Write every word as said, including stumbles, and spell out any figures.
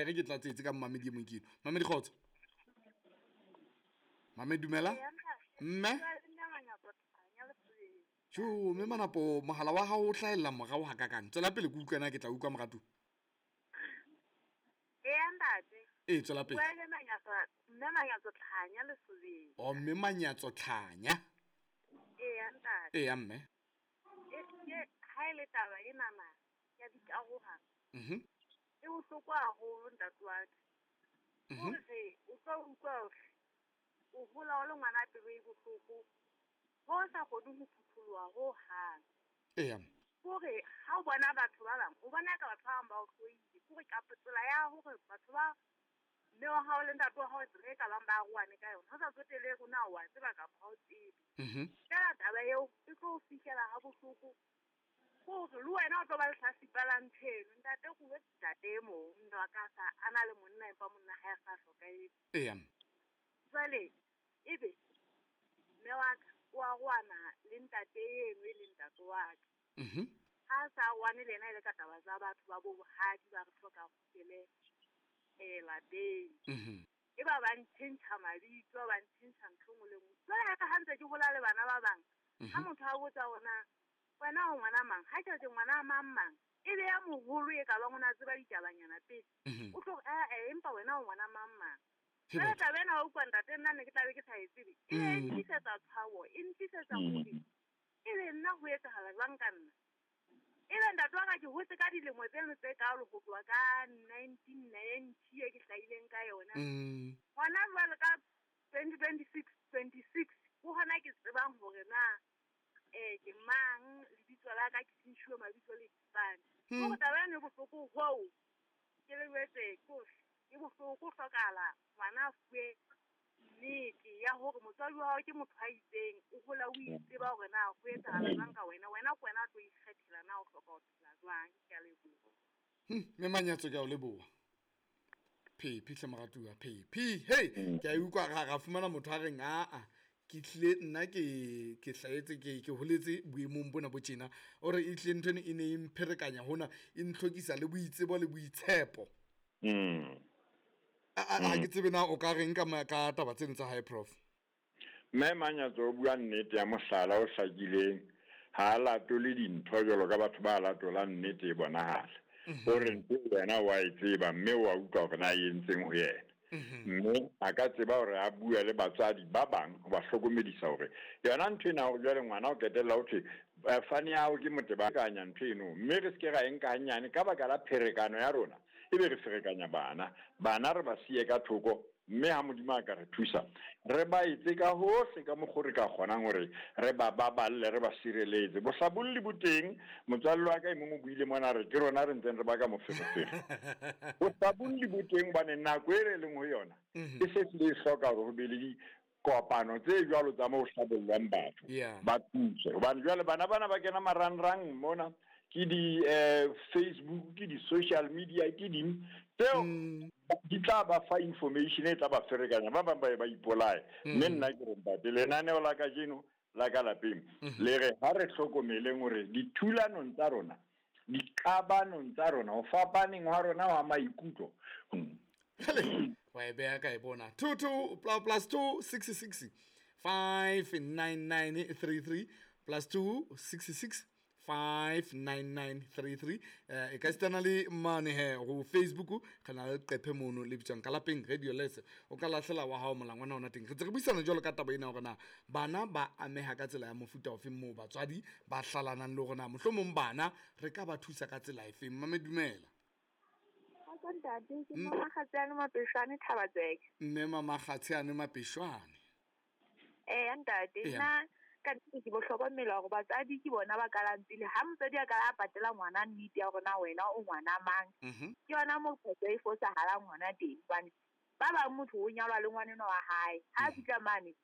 re ke tlatsetse ka mmamedi e mong ke eno. Mamedi kgotso. Mamedi dumela. Mme. Jo, mme Manapo mohala wa hao o hlahella morao ha kakang. Tswela pele ke utlwe na ke tla utlwa moratu. Eya ntate. E tswela pele. Bua le Manyatso, mme Manyatso Tlhanya Lesobeng. Oh, mme Manyatso Tlhanya. Eya ntate. Eya mme. E ke ha ile taba ena na ya dikarohano. Mhm. E bohloko haholo ntate wa ka. Mhm. Hore o tlo utlwa hore o hola o le ngwana pelo e bohloko. Ho sa kgone ho phutholoha ho hang. Eya. Hore ha o bona batho ba bang, o bona ka batho ba bang ba o hloile. Hore ka tsela ya hore batho ba mme wa hao le ntate wa hao tsela e ka bang ba arohane ka yona. Ho sa tsotelehe hore na wa tseba kapa ha o tsebe. Mhm. Feela taba eo e tlo o fihlela ha bohloko. Hore le wena o tlo ba lehlatsipa la ntho eno. Ntate o bue ntate e mong, mme wa ka sa a na le monna empa monna ha a sa hlokahetse. Eya. Jwale ebe mme wa ka o arohana le ntate eno e leng ntate wa ka. Mhm. Ha sa arohane le yena e le ka taba tsa batho ba bo bohadi ba re hloka kgutlele eh lapeng. Mhm. E ba ba ntjhentjha mabitso, ba ntjhentjha ntho e nngwe le nngwe. Jwale ha ka ha ntse ke hola le bana ba bang, Mhm. ha motho a botsa hore na wena o ngwana mang, ha ke re ke ngwana mang mang, e be ya moholo e ka bang o na tseba ditabanyana pele. Mhm. O tlo re, eh, eh, empa wena o ngwana mang mang. Ke Jwale batho. taba ena wa utlwa ntate, nna ne ke tla be ke sa e tsebe. E be e Mm. ntlisetsa tshabo, e ntlisetsa Mm. hore ebe nna ho etsahala jwang ka nna. Ebe ntate wa ka ke hotse ka dilemo tseno tse kaalo ho tloha ka nineteen ninety e ke hlahileng ka yona. Mm. Hona jwale ka twenty twenty-six, twenty-six, ho hona ke tsebang hore na eh ke mang, lebitso la ka ke tjhentjhuwe mabitso le difane. Hmm. Hore taba ena e bohloko hoo, ke le jwetse ke hore e bohloko ho hlokahala ngwana a fuwe nnete ya hore motswadi wa hao ke motho a itseng, o hola o itseba hore na ho etsahala jwang ka wena, wena ke wena o tlo ikgethela na o hloka ho phela jwang. Ke a leboha. Hmm, mme Manyatso ke a o leboha. Phephi hle moratuwa, phephi. Hey, ke a utlwa ra, ra fumana motho a reng aa ke tlile nna ke, ke hlahetse ke, ke holetse boemong bona bo tjena. O re e tlile ntho eno e ne e mpherekanya hona, e ntlhokisa le boitsebo le boitshepo. Mm. A, a, a ke tsebe na o ka reng ka ma-, ka taba tseno tsa hae, Prof? Mme Manyatso o bua nnete ya mohlala o hlakileng. Ha a latole dintho jwalo ka batho ba latolang nnete e bonahala. Mhm. O re ntho wena wa e tseba mme wa utlwa hore na e entseng ho yena. Mhm. Mme a ka tseba hore a bue le batswadi ba bang ho ba hlokomedisa hore yona ntho ena hore jwale ngwana o qetella ho thwe, eh, fane ya hao ke motebakanya ntho eno, mme re se ke ra e nka hanyane ka baka la pherekano ya rona, ebe re ferekanya bana. Bana re ba siye ka thoko, mme ha Modimo a ka re thusa, re ba etse ka hohle ka mokgo re ka kgonang hore re ba baballe, re ba sireletse. Bohlabolli bo teng, motswalle wa ka e mong o buile mona re ke rona re ntseng re baka moferefere. Bohlabolli bo teng hobane nako e re leng ho yona, Mhm. e se hlile e hloka hore ho be le dikopano tse jwalo tsa moo ho hlabollwang batho, Yeah. ba thuse. Hobane jwale bana bana ba kena marangrang mona, ke di, eh, Facebook, ke di social media, ke ding tseo Mm. di tla ba fa information e tla ba ferekanya, ba bang ba ye ba ipolaye. Mm. Mme nna ke re ntate, lenaneo la kajeno la ka lapeng Mm-hmm. le re ha re hlokomeleng hore dithulanong tsa rona, diqabanong tsa rona, ho fapaneng hwa rona hwa maikutlo. Mm. Hele, wa e beha ka e bona. Two, two, pla-, plus two, six, six, five, nine, nine, three, three, plus two, six, six, five, nine, nine, three, three. Eh, e ka sitana le mane he ho Facebook, re na le leqephe mono le bitswang ka lapeng Radio Lese. O ka lahlela wa hao molangwana ona teng. Re ntse re buisana jwalo ka taba ena hore na bana ba ameha ka tsela ya mofuta ofe moo batswadi ba hlalanang le hore na mohlomong bana re ka ba thusa ka tsela efeng. Mme dumela. Kgotso ntate, ke Mm. Mama Kgatsheane Mapeshwane, Thabatseke. Mme Mama Kgatsheane Mapeshwane. Eh, ntate, Eya. nna ka nnete ke bohlokomela hore batswadi ke bona ba kalang pele. Ha motswadi a ka a patela ngwana nnete ya hore na wena o ngwana mang, Mhm. ke yona moo phoso e fosahalang hona teng. Hobane ba bang motho o nyalwa le ngwaneno wa hae, ha Mhm. fihla mane